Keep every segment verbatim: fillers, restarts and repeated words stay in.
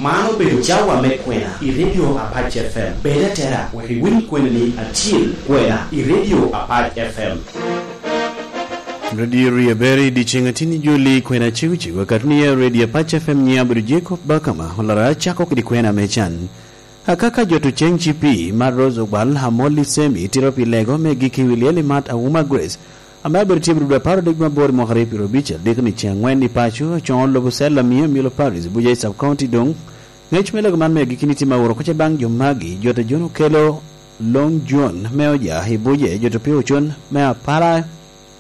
Man obedo cawa me kwena i Radio Apac F M. Bed atera wek iwiny kwenani acil, kwena i Radio Apac F M. Radio Rieberi, dyeceŋ atin i joli, kwena cego cego, akatni i Radio Apac F M. Nyiŋa abedo Jacob Bakama, olara acako kede kwena me can. Akaka jo to ceŋ cipi, mar Rose Ogwal, Amolli Semi, tiro pi lego me giki wi lyel i mat Awuma Grace, ame abedo tye i Bududu apar odek me aboro i mwaka aryo pyeraryo abic adek ni ceŋ angwen i paco, acoŋo lobo cell amiyo Milo Paris, Buja i Sub County doŋ. Ŋec me lego man me agikki ni tye ma woro koca baŋ jo magi, jo te John Okelo, Long John me Oja i Buje, jo to Pio Ocon me Apala,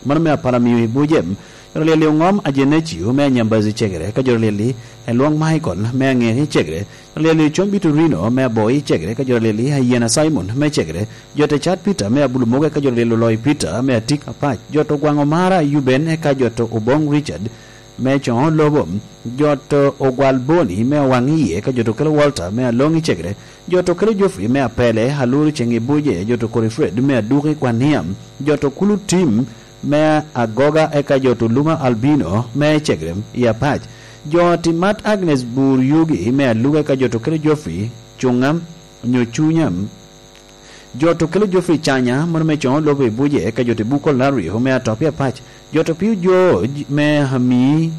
mano me Apala miyo i Buje, jo to Lyeli Oŋom Ajenecio me Anyambazi Cegere, ka jo to Lyeli Elwoŋ Michael me Aŋeŋi Cegere, jo to Lyeli Combi Torino me Aboi Cegere, ka jo to Lyeli Ayena Simon me Cegere, jo te Cat Peter me Abulu Mogo, eka jo to Lyeli Oloi Peter me Atik Apac, jo to Gwaŋo Mara Yuben, eka jo to Oboŋ Richard me Coŋo Lobo, jo to Ogwal Boni me Owaŋ Iye, eka jo to Kelo Walter me Aloŋi Cegere, jo to Kelo Geoffrey me Apele, Aluru Ceŋ i Buje, jo to Kori Fred me Aduki Kwania, jo to Kulu Tim me Agoga, eka jo to Luma Albino me Cegere i Apac, jo ti Mat Agnes Bur Yugi me Aluga, eka jo to Kelo Geoffrey Cuŋa nyo Cunya, jo to Kelo Geoffrey Canya, mano me Coŋo Lobo i Buje, eka jo to Buko Lario me Atop i Apac, jo to Pio George me Ami,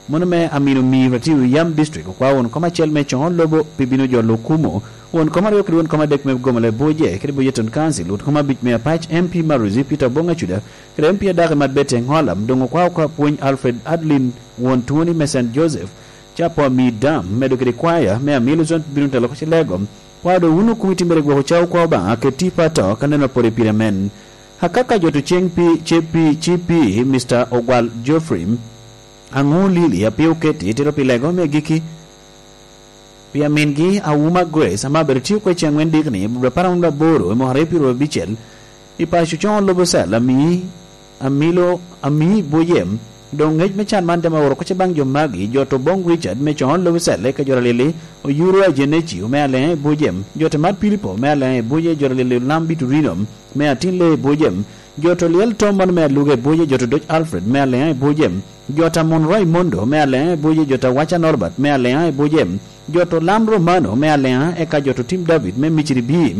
mano me Amino Miro Atiyo Yam District, okwao won kom acel me Coŋo Lobo pi bino jolo okumo, won kom aryo kede won kom adek me Gomala i Buje, kede Buje Town Council, won kom abic me Apac, M P Maruzi Peter Oboŋ Acuda, kede M P Adaki Mat Bete Ŋolam, doŋ okwao ka pwony Alfred Adlin, won Twoni me Saint Joseph, Capo Ami Dam, medo kede kwaya me Amilo Zone bino telo koc i Lego. Kwao doŋ wun okumi timmere gwoko cawa kwa Obaŋa, keti pato, ka neno apore pire men. Akaka jo to ceŋ pi, ce pi, ci pi, Mister Ogwal Geoffrey, Aŋo Lili, a pe oketi, tito pi Lego me agikki, pi amingi, Awuma Grace, ame abedo tye okwe ceŋ wen dikni, i Budo apar angwen aboro, i mwaka aryo pyeraryo abicel, i paco Coŋo Lobo Cell, ami, amilo, ami Buje, doŋ ŋec me can man temo woro koca baŋ jo magi, jo to Oboŋ Richard, me Coŋo Lobo Cell, eka jo to Lili, Oyuro Ajenecio, me Aleŋa i Buje, jo to Mat Pilipo, me Aleŋa i Buje, jo to Lili Olam Biturino, me Atin Lee i Buje, jo to Lyel Tom mano me Aluga i Buje, jo to Doc Alfred, me Aleŋa i Buje, jo to Amon Raimondo, me Aleŋa i Buje, jo to Awaca Norbert, me Aleŋa i Buje, jo to Lam Romano, me Aleŋa, eka jo to Tim David, me Miciri Bi,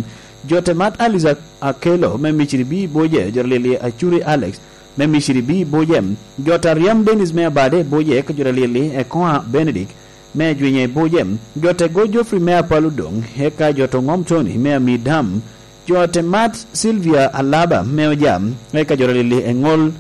jo to Mat Alice Akelo, me Miciri Bi i Buje, jo to Lili Acuri Alex, me Miciri Bi i Buje, jo to Aryam Dennis, me Abade i Buje, eka jo to Lili Ekoa Benedict, me Ajwinya i Buje, jo to Ego Geoffrey, me Apalo Doŋ, eka jo to Ŋom Tony, me Amidam, jo to Mat Sylvia Alaba, me Ojam, eka jo to Lili Eŋol,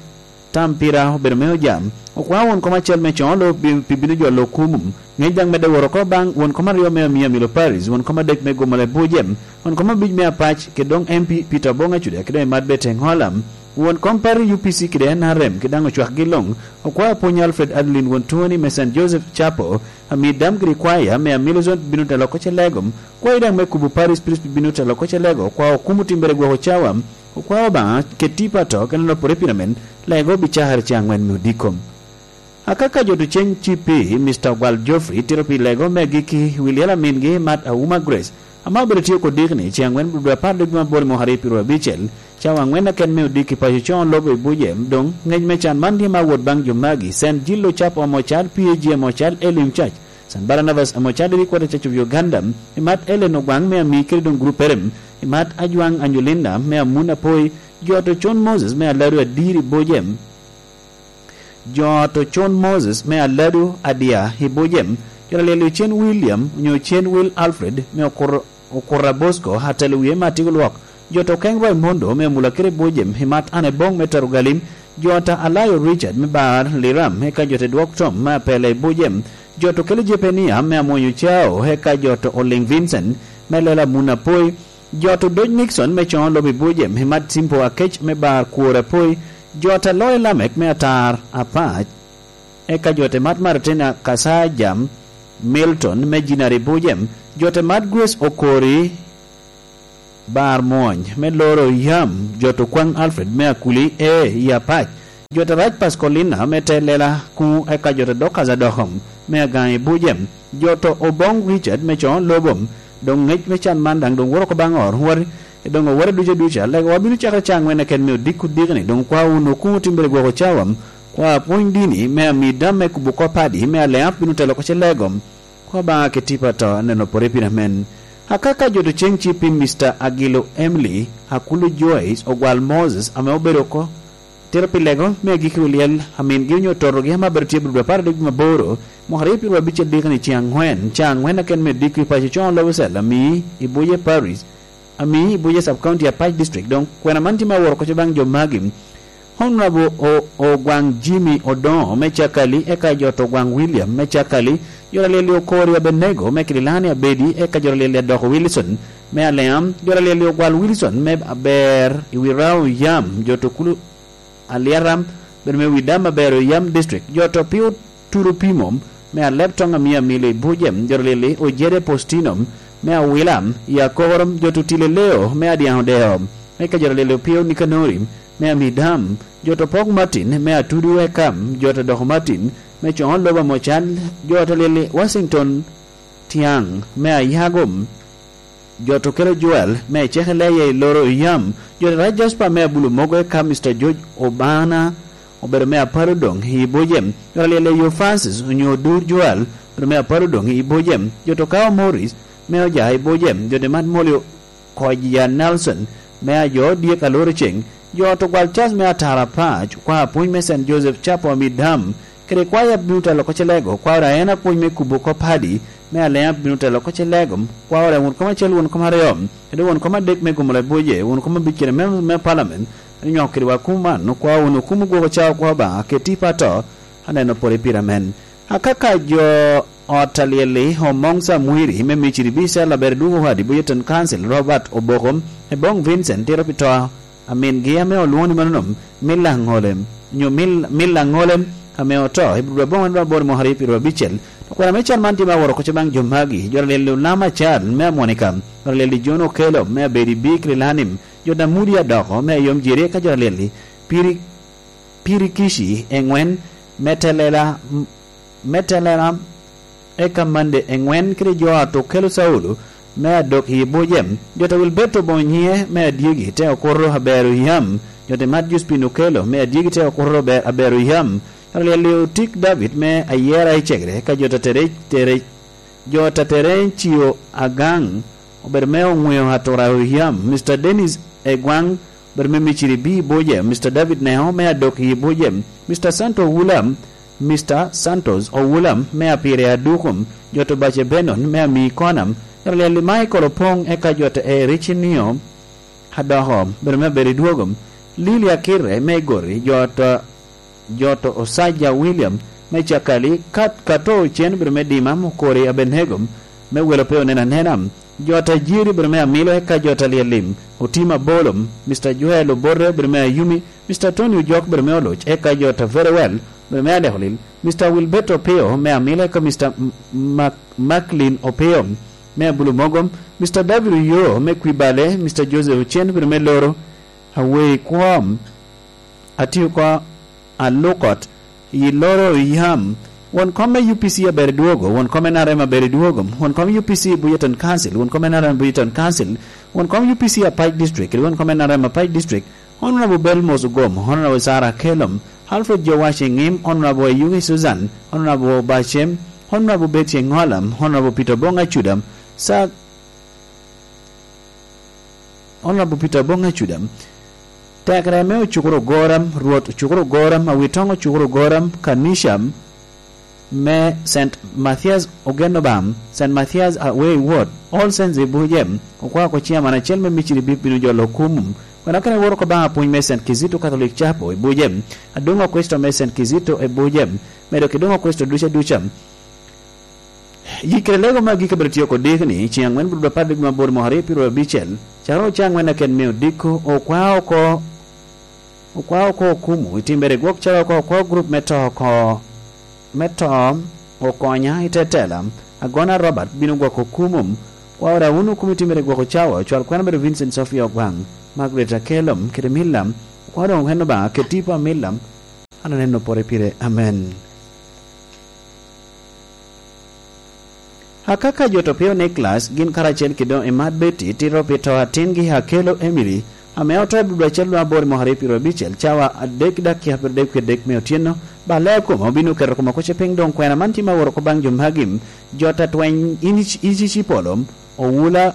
Tam pira obedo me Ojam. Okwao won kom acel me Coŋo Lobo pi, pi bino jolo okumu. Ŋec daŋ medde woro oko baŋ won kom aryo me Amia Milo Paris, won kom adek me Gomala Buje, won kom abic me Apac, kede doŋ M P Peter Oboŋ Acuda, kede Mat Bete Ŋolam, won kom parri U P C kede N R M, kede daŋ ocwakgi luŋ. Okwao pwony Alfred Adeline won Twoni me Saint Joseph Chapel, Amidam kede kwaya me Amilo Zone bino telo koc i Lego. Kwayi daŋ me kubo Paris Priest bino telo koc i Lego. Okwao okumu timmere gwoko cawa. Okwao Obaŋa, keti pato, kede nopore pire men, Lego bicakere ceŋ angwen me odiko. Akaka jo to ceŋ cipi, Mister Ogwal Geoffrey, tito pi Lego me agikki wi lyel amingi Mat Awuma Grace, ame obedo tye oko dikni, ceŋ angwen Budo apar dwe me aboro i mwaka aryo pyeraryo abicel, cawa angwen aken me odiki paco Coŋo Lobo i Buje, doŋ ŋec me can man tye ma wot baŋ jo magi, Saint Jill Ocap Omocal, P A G Omocal, Elim Church, Saint Barnabas Omocal, Three Quarter Church of Uganda, i Mat Ellen Ogwaŋ me Ami kede doŋ gruppere, i Mat Ajwaŋ Anyolinda me Amun Apoi, jo to Con Moses me Aladu Adir i Buje, jo to Con Moses me Aladu Adia i Buje, jo to Lyel Ocen William, onyo Ocen Will Alfred, me Okur-, Okura Bosco, atelo wie me Atigo Lwok, jo to Keng Raimondo, me Amula kede Buje, i Mat Anne Boŋ me Tero Galim, jo to Alayo Richard, me Bar Liram, eka jo to Dwok Tom, me Apele i Buje, jo to Kelo Jepenia, me Amwonyo Cao, eka jo to Oliŋ Vincent, me Lela Mun Apoi, jo to Doc Nixon me Coŋo Lobo i Buje, i Mat Simpo Akec me Bar Kwor Apoi, jo to Aloy Lamek me Atar Apac, eka jo to Mat Martina Kasaja Milton me Jinari Buje, jo to Mat Grace Okori Bar Mwony me Loro Yam, jo to Kwaŋ Alfred me Akuli e i Apac, jo to Rac Pascolina me Te Lela Kuŋ, eka jo to Dokas Adokom me Agaŋ i Buje, jo to Oboŋ Richard me Coŋo Lobo, doŋ ŋec me can man daŋ doŋ woro oko baŋ ot, wot, doŋ owore ducu aduca, Lego wa bino cakere ceŋ angwen keken me odiko dikni, doŋ kwa wunu kuŋ otimmere gwoko cawa, kwa pwony dini, me Amidam me kubo kop padi, me Aleap bino telo oko ce Lego, Kwa Obaŋa kit tipo ato, aneno pore pire amen. Akaka jo to ceŋ ci pi Mister Agilo Emily, Akulu Joyce, Ogwal Moses, ame obedo oko, tero pi lego me agikki olyel, amingi onyo totogi ame abedo tye i Budo apar adek maboro, mwaka aryo pyedo abicel dikani ceŋ aŋwen, ceŋ aŋwen aken me dikki paco coŋ lobo cel, ami i Buje Paris, ami i Buje Sub County Apac District. Doŋ kwena man tye me aworo koco baŋ jo magi. Honorable O-, Ogwaŋ Jimmy Odoŋo me Cakali, eka jo to Ogwaŋ William me Cakali, jo Alyel-li Okori Abenego me Kililani Abedi, eka jo Alyel-li Adoko Wilson me Aleam, jo Alyel-li Ogwal Wilson me Aber i wi Rao Yam, jo to Kulu Aliaram, bedo me Widam Aber i Yam District, jo to Pio Turu Pimom me Aleb Toŋ Amia Mili Bujem, jo Alyel-li Ojede Postinum me Awilam i Akorom, jo to Tile Leo me Adiaŋ Odeo, eka jo Alyel-li Opio Nikanori me Amidam, jo to Pok Martin me Atudu Ekam, jo to Doko Martin me Coŋo Lobo Mocan, jo to Alyel-li Washington Tiaŋ me Ayagom, jo to Kelo Joel me Ecekele ye i Loro Yam, jo to Rac Jasper me Abulu Mogo, eka Mister George Obana obedo me Apalo Doŋ i Bojem, jo to Alyel-li Yo Francis onyo Odur Joel obedo me Apalo Doŋ i Bojem, jo to Kao Morris me Oja i Bojem, jo to Mat Molio Koja Nelson me Ajo Dyek Aloro Ceŋ, jo to Gwal Cas me Atara Pac, kwa apwony me Saint Joseph Chapel Amidam, kede kwaya bino telo oko Celego, kwa ora en apwony me kubo oko Padi me Alea bino telo oko Celego, kwa ora won kom acel, won kom aryo, kede won kom adek me Gomolo Boje, won kom abic kede me, me Parliament, anyo kede wa kum man, kwa won okum gwoko cawa kwa Obaŋa, keti pato, aneno pore pire amen. Akaka jo ot Alyel-li, Omoŋ Samwiri, me Miciri Bicel, aber dwogo wadi Boyeton Council, Robert Oboko, Ebong Vincent, tiro pi to, amingi ame olwoŋo ni manonom, Mil Aŋolem, nyo Mil, Mil Aŋolem, ame oto, i Budo aboŋo en aboro mwaka aryo pyedo abicel. To kwena me can man tye me aworo koco baŋ jo magi, jo Alyel-li Olam Acal, me Amonika, jo Alyel-li John Okelo, me Abedi Bik Lilanim, jo Damudi Adoko, me Ayom Jeri, eka jo Alyel-li, Piri, Pirikici, eŋwen, me Telela, me Telela, eka Mande eŋwen kede jo a to Kelo Caulo me Adok i Bojem, jo to Wilberto Bonyiŋe me Adyegi te Okuto Abero Yam, jo to Mat Juspin Okelo me Adyegi te Okuto Aber-, Abero Yam, jo to Alyel-li Otik David me Ayera i Cegere, eka jo to Terec, Terec, jo to Terencio Agaŋ, obedo me Oŋweo Atura Oyam, Mister Dennis Egwaŋ, obedo me Miciri B i Bojem, Mister David Neo me Adok i Bojem, Mister Santo Owulam, Mister Santos Owulam me Apire Adukum, jo to Bace Benon me Ami Konam, jo to Alyel-li Michael Opoŋ, eka jo to Ericinio Adoko, obedo me Aberi Dwogom, Lili Akirre me Igori, jo to, jo to Osaja William me Cakali, Kat, Kato Ocen, obedo me Dima, Mukori Abenego, me Welo Pe Onen Anena, jo to Ajiri, obedo me Amilo, eka jo to Alyel-li Otim Abolom, Mister Joel Obote, obedo me Ayumi, Mister Tony Ojok, obedo me Oloc, eka jo to Very Well, obedo me Aleko Lil, Mister Wilberto Opio me Amilo, eka Mister M-, Mac-, Macklin Opio me Abulu Mogom, Mister David Oyoo me Kwibale, Mister Joseph Ocen, obedo me Loro, Awei Kwom, Atio Ko Alukot, i Loro Yam, won kom me U P C aber dwogo, won kom me N R M aber dwogo, won kom U P C Buyeton Council, won kom N R M Buyeton Council, won kom U P C Apac District, won kom N R M Apac District, Honorable Belmos Ogom, Honorable Sarah Kelom, Alfred Jowash Eŋim, Honorable Ayugi Susan, Honorable Bacem, Honorable Betty Eŋolam, Honorable Peter Bong Acudam, Sa-, Honorable Peter Bong Acudam, Tekere me Ocukuro Goram, Rwot Ocukuro Goram, Awitoŋ Ocukuro Goram, Kanisha me Saint Mathias Ogeno Bam, Saint Mathias Away Ward, All Saints i Bujem, okwako chairman acel me Miciri bino jolo kum. Wena kene woro ko baŋ apwony me Saint Kizito Catholic Chapel i Bujem, Adoŋo Kristo me Saint Kizito i Bujem, medo ki Doŋo Kristo duca duca. Yikkere lego me agikki abiro tye oko diki ni, ceŋ aŋwen bulu apar dek me aboro mwaka aryo pyedo abicel, cakere ocaŋ aŋwen aken me odiko, okwa oko, okwa oko okumu, i timbere gwok calo oko, okwa gurup me to oko, me to okonya i te tela, Agona Robert bino gwoko okumum, kwa ora wun okum i timbere gwoko cawa, cwal kwena bedo Vincent Sofia Ogwaŋ, Margaret Akelom, kede Millam, okwa doŋ ohen Obaŋa, keti pa Millam, an aneno pore pire, amen. Akaka jo to pio Niklas, gin karacel kede doŋ Imat Betty, tito pi to atingi Akelo Emily, ame oto i Budo acel luŋ aboro i mwaka aryo pyedo abicel, cawa adek dakika pyedo adek kede dek me otyeno, Ba ler kome obino keto kome kuce piny, doŋ kwena man tye ma woro oko baŋ jo magi: Jot atweny, in ic-, ic-, ic-, ipolo, owula,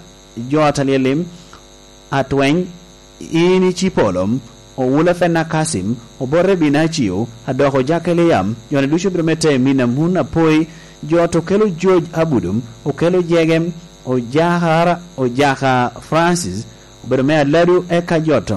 jo atalyelim, atweny, in ic-, ipolo, owula Fenna Kasim, obote Binacio, adoko Jakeliam, joni ducu obedo me te min Amun Apoi, jot okelo George Abudum, okelo Jegem, Ojakara, Ojaka Francis, obedo me Aladu, eka jot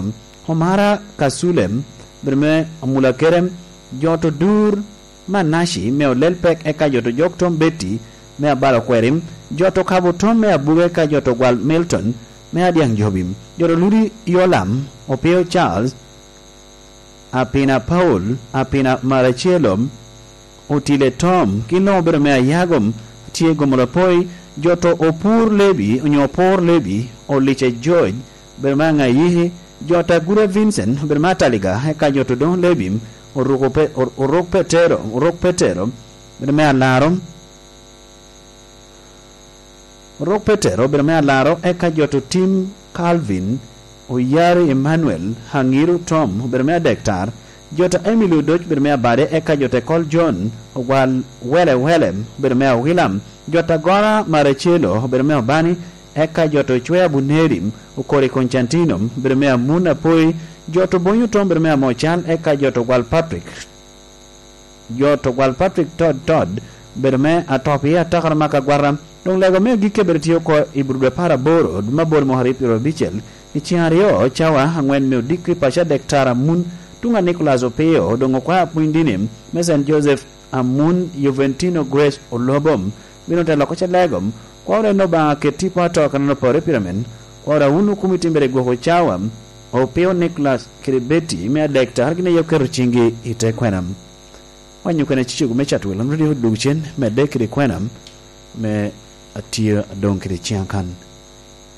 Omara Kasulem, obedo me Amulakere, jot Odur Manaci me Olelpek, eka jot Ojok Tom Betty me Abalo Kweri, jot Okabo Tom me Abuge, eka jot Ogwal Milton me Adiaŋ Jobi, jot Oludi Yolam, Opio Charles, Apina Paul, Apina Maracelo, Otile Tom, gin luŋ obedo me Ayagom, tye Gomola Poi, jot Opur Lebi, onyo Opor Lebi, Olica George, obedo me Aŋayiki, jot Agura Vincent, obedo me Ataliga, eka jot Odoŋ Lebi, Oruk Pe-, Or-, Oruk Petero, Oruk Petero, obedo me Alaro, Oruk Petero, obedo me Alaro, eka jot Otim Calvin, Oyari Emmanuel, Aŋiru Tom, obedo me Adektar, jot Emily Odoc, obedo me Abade, eka jot Ekol John, Ogwal Wele Wele, obedo me Awilam, jot Agora Maracelo, obedo me Obani, eka jot Ocwe Abuneri, Okori Constantino, obedo me Amun Apoi, jot Obonyo Tom, obedo me Amocal, eka jot Ogwal Patrick, jot Ogwal Patrick Todd Todd, obedo me Atop i Atakara Maka Agwata. Doŋ lego me agikki obedo tye oko i Burudu apar aboro, dwe me aboro mwaka aryo pyeraryo abicel, i ceŋ aryo cawa aŋwen me odiko i paco Adektar Amun, tuŋ a Nicholas Opio, doŋ okwaya pwony dini me Saint Joseph Amun, Juventino Grace Olobom, bino te loko ce lego. Kwaro en Obaŋa ket tipo ato kan opore pyramid. Kwaro wun okumi timbere gwoko cawa, Opio Nicholas kede Betty me Adektar gin aye oketo ciŋgi i te kwena. Wanyo kwena cicego me Chatwel, an radio dog cen, medde kede kwena me atye adoŋ kede ciŋ akan.